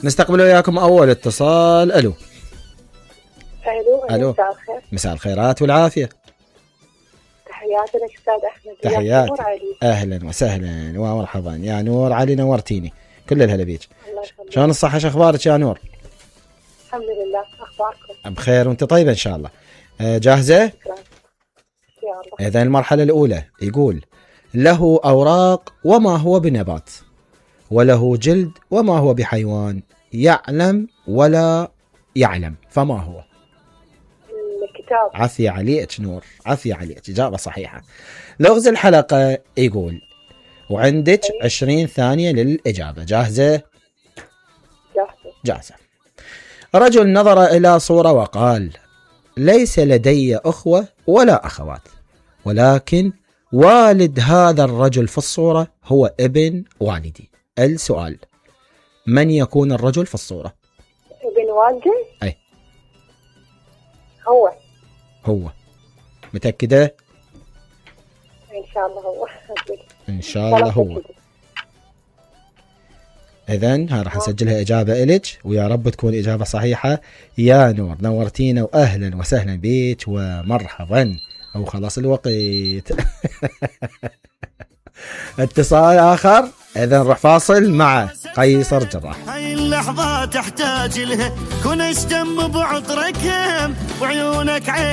نستقبل وياكم أول اتصال. ألو. ألو. مساء الخير. مساء الخيرات والعافية. تحياتي لك أستاذ أحمد. تحياتي. أهلا وسهلا ومرحبا يا نور علي، نورتيني. كل الهلا بيك. شلون الصحة، شو أخبارك يا نور؟ الحمد لله، أخباركم؟ بخير وأنت طيبة إن شاء الله. جاهزة؟ يا الله. إذن المرحلة الأولى يقول: له أوراق وما هو بنبات، وله جلد وما هو بحيوان، يعلم ولا يعلم، فما هو؟ الكتاب. عافية عليك نور، عافية عليك، إجابة صحيحة. لغز الحلقة يقول، وعندك 20 ثانية للإجابة. جاهزة؟ جاهزة. رجل نظر إلى صورة وقال: ليس لدي أخوة ولا أخوات، ولكن والد هذا الرجل في الصورة هو ابن والدي. السؤال: من يكون الرجل في الصورة؟ ابن والدي؟ أي هو. متأكدة؟ إن شاء الله هو. إن شاء الله هو. إذن ها راح نسجلها إجابة إلك، ويا رب تكون إجابة صحيحة يا نور. نورتينا وأهلا وسهلا بيك ومرحبا. أو خلاص الوقت. اتصال آخر. إذن نروح فاصل مع قيصر جراح. هاي اللحظة تحتاج لها، كن اشتم بعطرك وعيونك عين.